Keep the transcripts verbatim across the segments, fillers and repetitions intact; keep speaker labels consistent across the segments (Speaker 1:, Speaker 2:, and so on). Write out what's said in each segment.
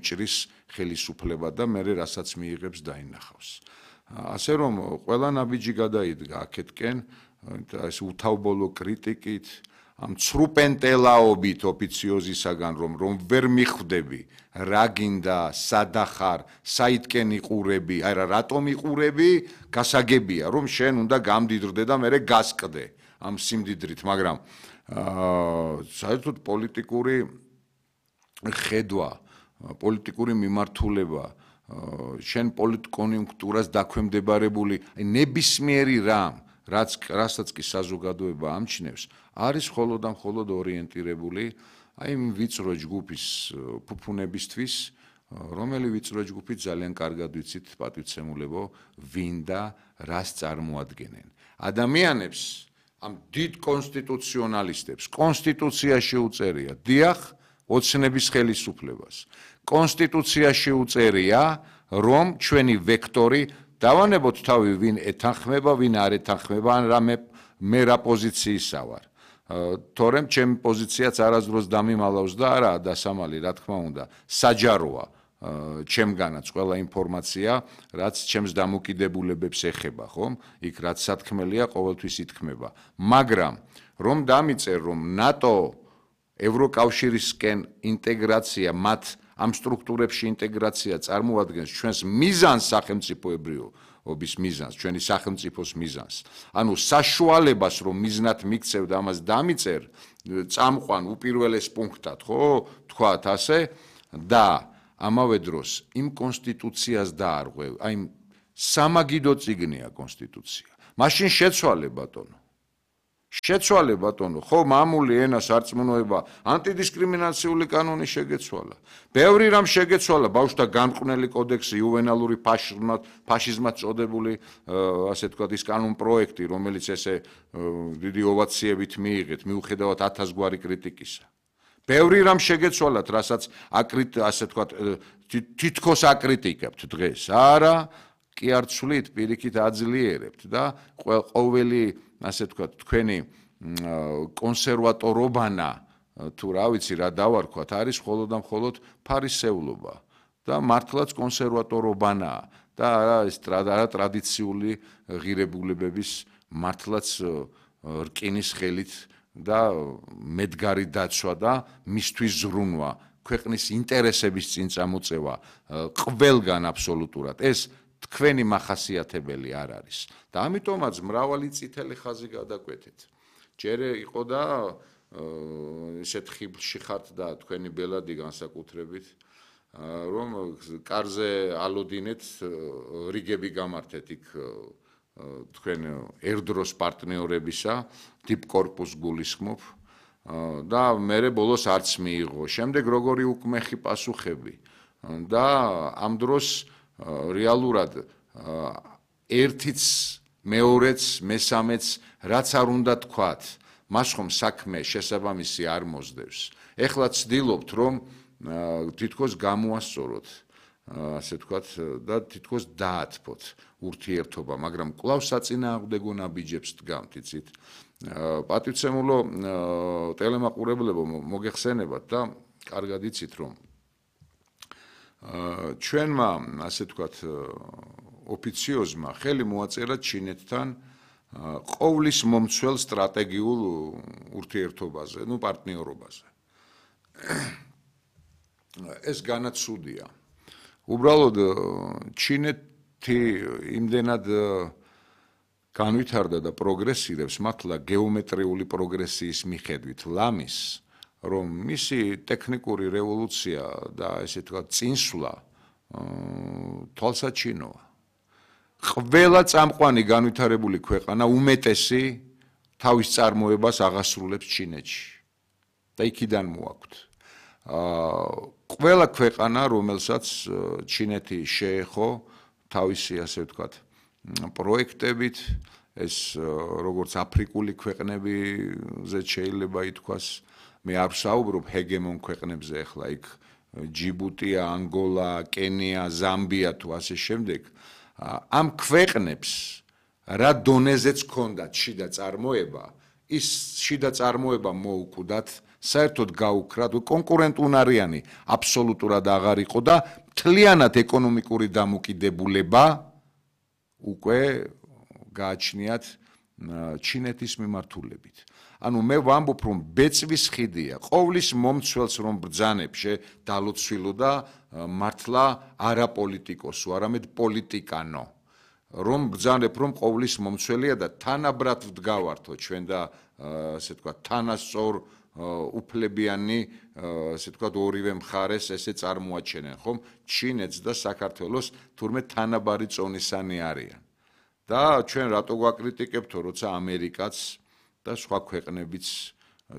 Speaker 1: მოიჭრის ხელისუფლება და მერე რასაც მიიღებს დაინახავს. ასე რომ ყველა ნაბიჯი გადაიდგა აქეთკენ ეს უთავბოლო კრიტიკით ამ ცრუპენტელაობით ოფიციოზისაგან რომ რომ ვერ მიხვდები რა გინდა სადახარ საითკენ იყურები აი რა რატომ იყურები გასაგებია რომ შენ უნდა გამდიდრდე და მერე გასკდე ამ სიმდიდრით მაგრამ აა საერთოდ პოლიტიკური ხედვა პოლიტიკური მიმართულება შენ პოლიტკონიუნქტურას დაქვემდებარებული აი ნებისმიერი რამ რაც რასაც კი საზოგადოება ამჩნევს არის მხოლოდ და მხოლოდ ორიენტირებული აი იმ ვიწრო ჯგუფის ფუფუნებისთვის რომელი ვიწრო ჯგუფი ძალიან კარგად ვიცით პატივცემულებო ვინ და რას წარმოადგენენ ადამიანებს ამ დიდ კონსტიტუციონალისტებს კონსტიტუციაში უწერია დიახ ოცნების ხელისუფლებას კონსტიტუციაში უწერია რომ ჩვენი ვექტორი დავანებოთ თავი ვინ ეთანხმება ვინ არ ეთანხმება ან რამე მე რა პოზიციისა ვარ თორემ ჩემი პოზიციაც არასდროს დამიმალავს და არა დასამალი რა თქმა უნდა საჯაროა ჩემგანაც ყველა ინფორმაცია რაც ჩემს დამოკიდებულებებს ეხება ხომ იქ რაც სათქმელია ყოველთვის ითქმება მაგრამ რომ დამიწერ რომ ნატო ევროკავშირისკენ ინტეგრაცია მათ ამ სტრუქტურებში ინტეგრაცია წარმოადგენს ჩვენს მიზანს სახელმწიფოებრიობის მიზანს, ჩვენი სახელმწიფოს მიზანს. ანუ საშუალებას რომ მიზნად მიქცევ და ამას დამიწერ, წამყვან უპირველეს პუნქტად, ხო, თქვათ ასე და ამავე დროს იმ კონსტიტუციას დაარღვევ, აი სამაგიდო წიგნია კონსტიტუცია. მაშინ შეცვალე ბატონო. შეცვალე ბატონო, ხო, მამული ენა სარწმუნოება, ანტიდისკრიმინაციული კანონი შეგეცვალა. ბევრი რამ შეგეცვალა, ბავშვთა გამყვნელი კოდექსი, იუვენალური ფაშიზმად, ფაშიზმად წოდებული, ასე ვთქვათ, ის კანონ პროექტი, რომელიც ესე დიდი ოვაციებით მიიღეთ, მიუხედავად ათას გვარი კრიტიკისა. ბევრი რამ შეგეცვალათ, რასაც აკრიტ, ასე ვთქვათ, თითქოს აკრიტიკებთ დღეს. არა, კი არ ცვლით, პირიქით აძლიერებთ და ყოველი ასე ვთქვათ, თქვენი კონსერვატორობანა თუ რა ვიცი რა დავარქვათ, არის მხოლოდ და მხოლოდ ფარისეულობა და მართლაც კონსერვატორობანაა და არა ეს ტრადიციული ღირებულებების მართლაც რკინის ხელით და მედგარი დაცვა და მისთვის ზრუნვა, ქვეყნის ინტერესების წინ წამოწევა ყველგან აბსოლუტურად ეს თქვენი მახასიათებელი არ არის და ამიტომაც მრავალი წითელი ხაზი გადაკვეთეთ. ჯერ იყო და ესეთ ხიბლში ხართ და თქვენი ბელადი განსაკუთრებით რომ კარზე ალოდინეთ რიგები გამართეთ იქ თქვენ ერდროს პარტნიორებისა დიპკორპუს გულისხმობ და მერე ბოლოს არც მიიღო. შემდეგ როგორი უკმეხი პასუხები და ამ დროს რეალურად ერთიც მეორეც მესამეც რაც არ უნდა თქვათ მას ხომ საქმე შესაბამისი არ მოსდევს ეხლა ცდილობთ რომ თითქოს გამოასწოროთ ასე ვთქვათ და თითქოს დაათფოთ ურთიერთობა მაგრამ კვლავ საწინააღმდეგო ნაბიჯებს დგამთ იცით პატივცემულო ტელემაყურებლებო მოგეხსენებათ და კარგად იცით რომ ჩვენმა ასე ვთქვათ ოფიციოზმა ხელი მოაწერა ჩინეთთან ყოვლის მომცველ სტრატეგიულ ურთიერთობაზე, ну პარტნიორობაზე. ეს განაცუდია. უბრალოდ ჩინეთი იმდენად განვითარდა და პროგრესირებს მართლა გეომეტრიული პროგრესიის მიხედვით ლამის რომ მისი ტექნიკური რევოლუცია და ესე ვთქვათ წინსვლა თვალსაჩინოა. ყველა წამყვანი განვითარებული ქვეყანა უმეტესი თავის წარმოებას აღასრულებს ჩინეთში და იქიდან მოაქვთ. ყველა ქვეყანა, რომელსაც ჩინეთი შეეხო თავისი ასე ვთქვათ პროექტებით, ეს როგორც აფრიკული ქვეყნებიზე შეიძლება ითქვას, მე არ ვსაუბრობ ჰეგემონ ქვეყნებზე ახლა იქ ჯიბუტია, ანგოლა, კენია, ზამბია თუ ასე შემდეგ. ამ ქვეყნებს რა დონეზეც ჰქონდათ შიდა წარმოება, ის შიდა წარმოება მოუკვდათ საერთოდ გაუქრათ, კონკურენტუნარიანი აბსოლუტურად აღარ იყო და მთლიანად ეკონომიკური დამოკიდებულება უკვე გააჩნიათ ჩინეთის მიმართულებით. ანუ მე ვამბობ, რომ ბეწვის ხიდია, ყოვლის მომცველს რომ ბრძანებს დალოცვილო და მართლა არა პოლიტიკოსო, არამედ პოლიტიკანო. რომ ბრძანებ, რომ ყოვლის მომცველია და თანაბრად ვდგავართო ჩვენ და ასე თქვა თანასწორ უფლებიანი, ასე თქვა ორივე მხარეს ესე წარმოაჩენენ, ხომ? ჩინეთს და საქართველოს თურმე თანაბარი წონისანი არიან. და ჩვენ რატო გვაკრიტიკებთო, როცა ამერიკაც და სხვა ქვეყნებიც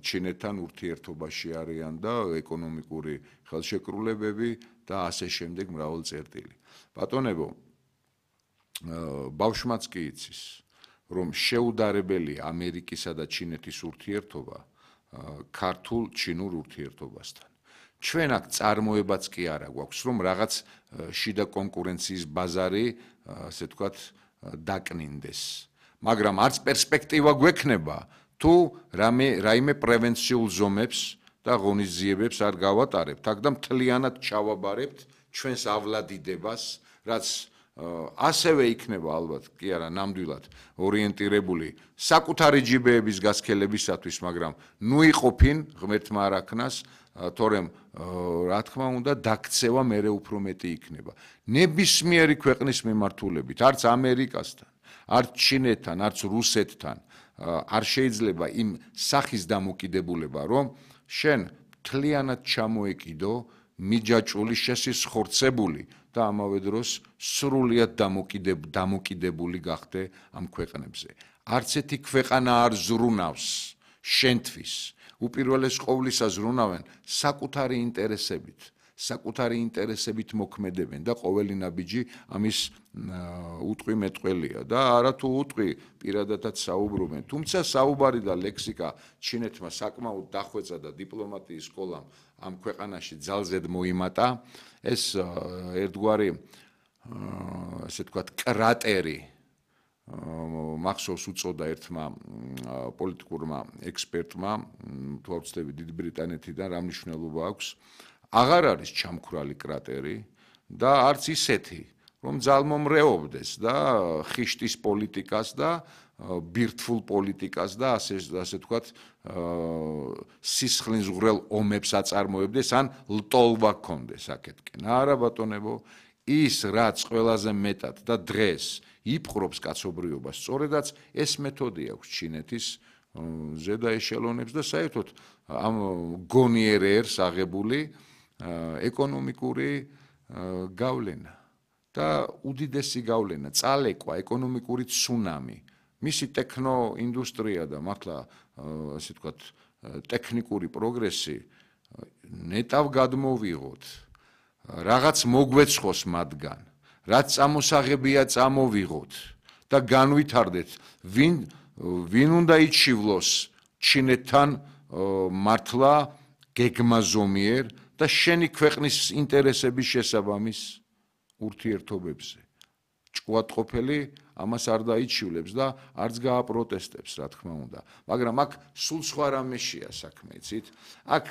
Speaker 1: ჩინეთთან ურთიერთობაში არიან და ეკონომიკური ხელშეკრულებები და ასე შემდეგ მრავალი წერტილი. ბატონებო, ბავშვმაც კი იცის, რომ შეუდარებელია ამერიკისა და ჩინეთის ურთიერთობა ქართულ ჩინურ ურთიერთობასთან. ჩვენ აქ წარმოებაც კი არა გვაქვს, რომ რაღაც შიდა კონკურენციის ბაზარი, ასე ვთქვათ, დაკნინდეს. მაგრამ არც პერსპექტივა გვექნება, თუ რამე რაიმე პრევენციულ ზომებს და ღონისძიებებს არ გავატარებთ, აქ და მთლიანად ჩავაბარებთ ჩვენსავლადიდებას, რაც ასევე იქნება ალბათ, კი არა, ნამდვილად ორიენტირებული საკუთარი ჯიბეების გასქელებისათვის, მაგრამ ნუ იყოფინ ღმერთმა არ აქნას, თორემ რა თქმა უნდა დაქცევა მერე უფრო მეტი იქნება. ნებისმიერი ქვეყნის მიმართულებით, არც ამერიკასთან, არც ჩინეთთან, არც რუსეთთან არ შეიძლება იმ სახის დამოკიდებულება, რომ შენ მთლიანად ჩამოეკიდო მიჯაჭვული, შესისხორცებული და ამავე დროს სრულიად დამოკიდებული გახდე ამ ქვეყნებზე. არც ერთი ქვეყანა არ ზრუნავს შენთვის. უპირველეს ყოვლისა ზრუნავენ საკუთარი ინტერესებით, საკუთარი ინტერესებით მოქმედებენ და ყოველი ნაბიჯი ამის უტყვი მეტყველია და არა თუ უტყვი პირადადაც საუბრობენ. თუმცა საუბარი და ლექსიკა ჩინეთმა საკმაოდ დახვეწა და დიპლომატიის სკოლამ ამ ქვეყანაში ძალზედ მოიმატა. ეს ერთგვარი ასე ვთქვათ კრატერი მახსოვს უწოდა ერთმა პოლიტიკურმა ექსპერტმა, თუ არ ვცდები დიდი ბრიტანეთიდან, რა მნიშვნელობა აქვს, აღარ არის ჩამქრალი კრატერი და არც ისეთი, რომ ძალმომრეობდეს და ხიშტის პოლიტიკას და ბირთვულ პოლიტიკას და ასე ასე ვთქვათ სისხლისღვრელ ომებს აწარმოებდეს ან ლტოლვა ქონდეს აქეთკენ. არა ბატონებო, ის რაც ყველაზე მეტად და დღეს იპყრობს კაცობრიობას, სწორედაც ეს მეთოდი აქვს ჩინეთის ზედა ეშელონებს და საერთოდ ამ გონიერერს აღებული ეკონომიკური გავლენა და უდიდესი გავლენა, წალეკვა, ეკონომიკური ცუნამი. მისი ტექნოინდუსტრია და მართლა ასე ვთქვათ ტექნიკური პროგრესი ნეტავ გადმოვიღოთ, რაღაც მოგვეცხოს მათგან, რაც წამოსაღებია წამოვიღოთ და განვითარდეთ, ვინ ვინ უნდა იჩივლოს ჩინეთთან მართლა გეგმაზომიერ და შენი ქვეყნის ინტერესების შესაბამის ურთიერთობებზე. ჭკუატყოფელი ამას არ დაიჩივლებს და არც გააპროტესტებს, რა თქმა უნდა. მაგრამ აქ სულ სხვა რამეშია საქმე, იცით? აქ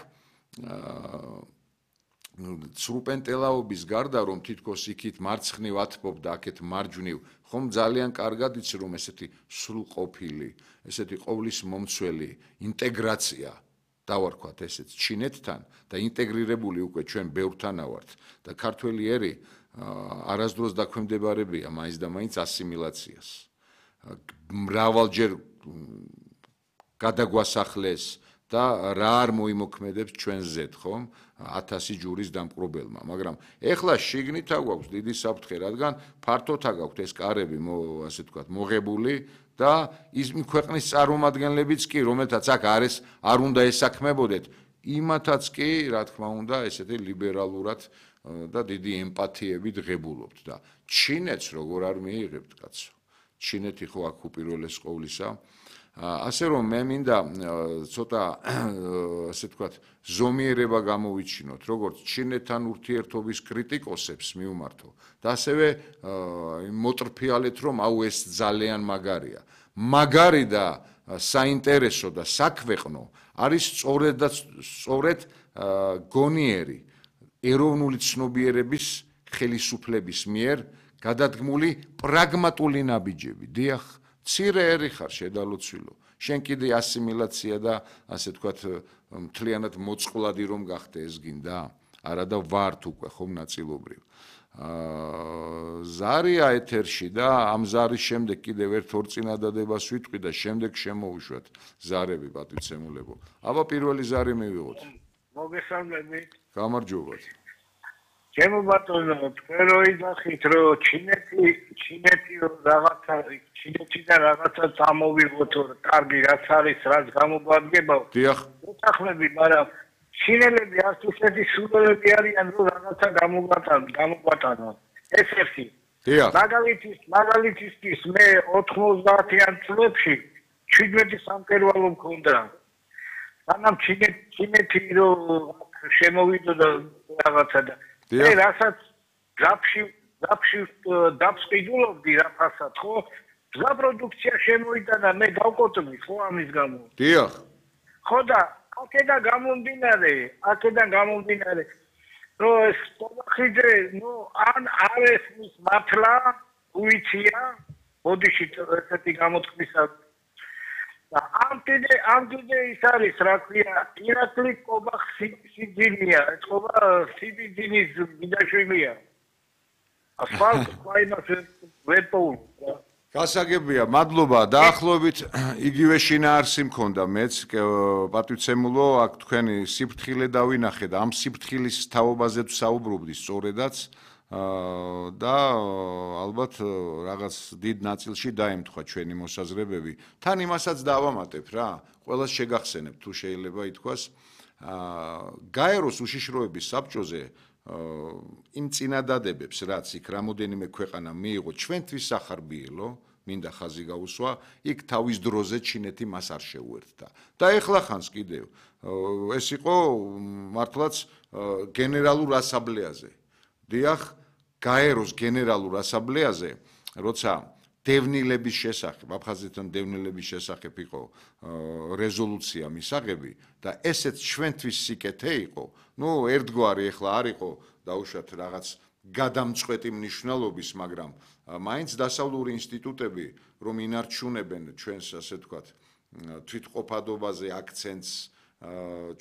Speaker 1: სრუპენტელაობის გარდა, რომ თითქოს იქით მარცხნივ ათბობ და აქეთ მარჯვნივ, ხომ ძალიან კარგად იცი, რომ ესეთი სრულყოფილი, ესეთი ყოვლის მომცველი ინტეგრაცია დავარქვათ ესეც ჩინეთთან და ინტეგრირებული უკვე ჩვენ ბევრთანა ვართ და ქართველი ერი არასდროს დაქვემდებარებია მაინც და მაინც ასიმილაციას. მრავალჯერ გადაგვასახლეს და რა არ მოიმოქმედებს ჩვენ ზედ, ხომ? ათასი ჯურის დამპყრობელმა, მაგრამ ეხლა შიგნით აგვაქვს დიდი საფრთხე, რადგან ფართოდ აგვაქვს ეს კარები, ასე ვთქვათ, მოღებული და ის ქვეყნის წარმომადგენლებიც კი, რომელთაც აქ არის, არ უნდა ესაქმებოდეთ, იმათაც კი, რა თქმა უნდა, ესეთი ლიბერალურად და დიდი ემპათიებით ღებულობთ და ჩინეთს როგორ არ მიიღებთ, კაცო? ჩინეთი ხო აქ უპირველეს ყოვლისა ასე რომ მე მინდა ცოტა ასე ვთქვათ ზომიერება გამოვიჩინოთ როგორც ჩინეთთან ურთიერთობის კრიტიკოსებს მივმართო და ასევე მოტრფიალეთ რომ აუ ეს ძალიან მაგარია მაგარი და საინტერესო და საქვეყნო არის სწორედ და სწორედ გონიერი ეროვნული ცნობიერების ხელისუფლების მიერ გადადგმული პრაგმატული ნაბიჯები დიახ მცირე ერი ხარ შედალოცვილო შენ კიდე ასიმილაცია და ასე ვთქვათ მთლიანად მოწყვლადი რომ გახდე ეს გინდა არა და ვართ უკვე ხომ ნაწილობრივ ზარია ეთერში და ამ ზარის შემდეგ კიდევ ერთ ორ წინადადებას ვიტყვი და შემდეგ შემოუშვათ ზარები პატივცემულებო აბა პირველი ზარი მივიღოთ
Speaker 2: მოგესალმებით
Speaker 1: გამარჯობათ
Speaker 2: ჩემო ბატონო თქვენ რო იგახით რომ ჩინეთი ჩინეთი რაღაცა ჩინეთიდან რაღაცა წამოვიღოთ კარგი რაც არის რაც გამოგვადგება
Speaker 1: დიახ
Speaker 2: უთახლები მაგრამ ჩინელები არც ისეთი სულელები არიან რომ რაღაცა გამოგვატანონ გამოგვატანონ ეს ერთი
Speaker 1: დიახ
Speaker 2: მაგალითის მაგალითისთვის მე ოთხმოცდაათიან წლებში შვიდმეტი სამკერვალო მქონდა სანამ ჩინეთი რომ შემოვიდო და რაღაცა და მე რასაც ძაფში ძაფში დაფსყიდულობდი რაფასად ხო ძა პროდუქცია შემოიტანა მე გავკოტრდი ხო ამის გამო
Speaker 1: დიახ
Speaker 2: ხო და აქედან გამომდინარე აქედან გამომდინარე რომ ეს ტომახიძე ნუ ან არის მის მართლა უიცია ბოდიში ესეთი გამოთქმისა და ამ კიდე ამ კიდე ის არის რა ქვია ირაკლი კობახსიძინია ეს ყობა სიბიძინის მიდაშვილია ასფალტ ყაიმას ვერტოულ
Speaker 1: გასაგებია მადლობა დაახლოებით იგივე შინაარსი მქონდა მეც პატივცემულო აქ თქვენი სიფრთხილე დავინახე და ამ სიფრთხილის თაობაზე ვსაუბრობდი სწორედაც და ალბათ რაღაც დიდ ნაწილში დაემთხვა ჩვენი მოსაზრებები თან იმასაც დავამატებ რა ყველას შეგახსენებ თუ შეიძლება ითქვას გაეროს უშიშროების საბჭოზე იმ წინადადებებს რაც იქ რამოდენიმე ქვეყანა მიიღო ჩვენთვის სახარბიელო მინდა ხაზი გაუსვა იქ თავის დროზე ჩინეთი მას არ შეუერთდა და ეხლა ხანს კიდევ ეს იყო მართლაც გენერალურ ასამბლეაზე დიახ გაეროს გენერალურ ასამბლეაზე როცა დევნილების შესახებ აფხაზეთთან დევნილების შესახებ იყო რეზოლუცია მისაღები და ესეც ჩვენთვის სიკეთე იყო ნუ ერთგვარი ეხლა არ იყო დაუშვათ რაღაც გადამწყვეტი მნიშვნელობის მაგრამ მაინც დასავლური ინსტიტუტები რომ ინარჩუნებენ ჩვენს ასე ვთქვათ თვითყოფადობაზე აქცენტს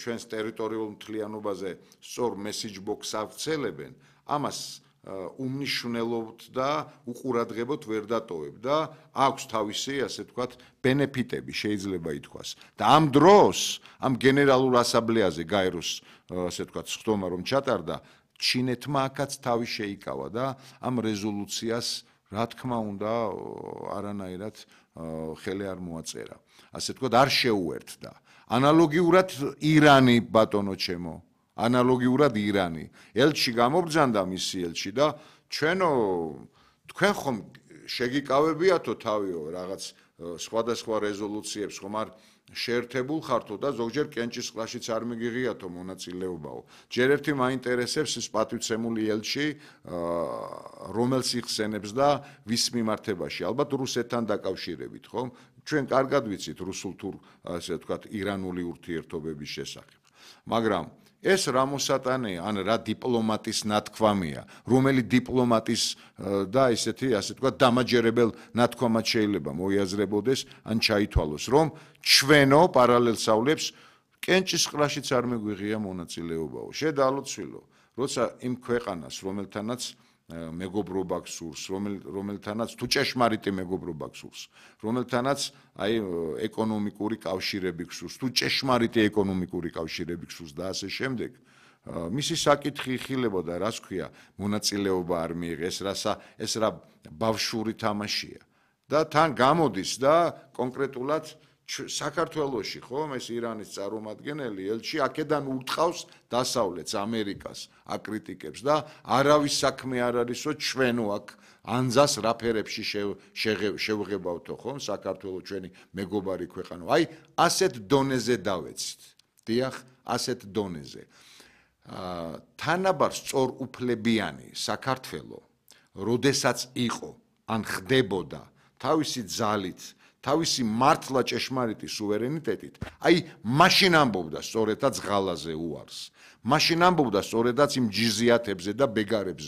Speaker 1: ჩვენს ტერიტორიულ მთლიანობაზე სწორ მესიჯ ბოქს ავრცელებენ ამას უმნიშვნელოდ და უყურადღებოდ ვერ დატოვებ და აქვს თავისი ასე ვთქვათ ბენეფიტები შეიძლება ითქვას და ამ დროს ამ გენერალურ ასამბლეაზე გაეროს ასე ვთქვათ სხდომა რომ ჩატარდა ჩინეთმა აქაც თავი შეიკავა და ამ რეზოლუციას რა თქმა უნდა არანაირად ხელი არ მოაწერა ასე ვთქვათ არ შეუერთდა ანალოგიურად ირანი ბატონო ჩემო ანალოგიურად ირანი ელჩი გამობრძანდა მისი ელჩი და ჩვენო თქვენ ხომ შეგიკავებიათო თავიო რაღაც სხვადასხვა რეზოლუციებს ხომ არ შეერთებულ ხართო და ზოგჯერ კენჭის ყლაშიც არ მიგიღიათო მონაწილეობაო ჯერ ერთი მაინტერესებს ის პატივცემული ელჩი რომელს იხსენებს და ვის მიმართებაში ალბათ რუსეთთან დაკავშირებით ხომ ჩვენ კარგად ვიცით რუსულ თუ ასე ვთქვათ ირანული ურთიერთობების შესახებ მაგრამ ეს რა მოსატანეა ან რა დიპლომატის ნათქვამია რომელი დიპლომატის და ესეთი ასე ვთქვათ დამაჯერებელ ნათქვამად შეიძლება მოიაზრებოდეს ან ჩაითვალოს რომ ჩვენო პარალელსავლებს კენჭის ყლაშიც არ მეგვიღია მონაწილეობაო შედალოცვილო როცა იმ ქვეყანას რომელთანაც მეგობრობა გსურს რომელთანაც თუ ჭეშმარიტი მეგობრობა გსურს რომელთანაც აი ეკონომიკური კავშირები გსურს თუ ჭეშმარიტი ეკონომიკური კავშირები გსურს და ასე შემდეგ მისი საკითხი იხილებოდა რას ქვია მონაწილეობა არ მიიღეს რასა ეს რა ბავშვური თამაშია და თან გამოდის და კონკრეტულად საქართველოში ხომ ეს ირანის წარმომადგენელი ელჩი აქედან ურტყავს დასავლეთს ამერიკას აკრიტიკებს და არავის საქმე არ არისო ჩვენო აქ ანძას რა ფერებში შევღებავთო ხომ საქართველოს ჩვენი მეგობარი ქვეყანა აი ასეთ დონეზე დავეცით დიახ ასეთ დონეზე თანაბარ სწორუფლებიანი საქართველო როდესაც იყო ან ხდებოდა თავისი ძალით თავისი მართლა ჭეშმარიტი სუვერენიტეტით, აი მაშინ ამბობდა სწორედაც ღალაზე უარს. მაშინ ამბობდა სწორედაც იმ ჯიზიათებზე და ბეგარებზე,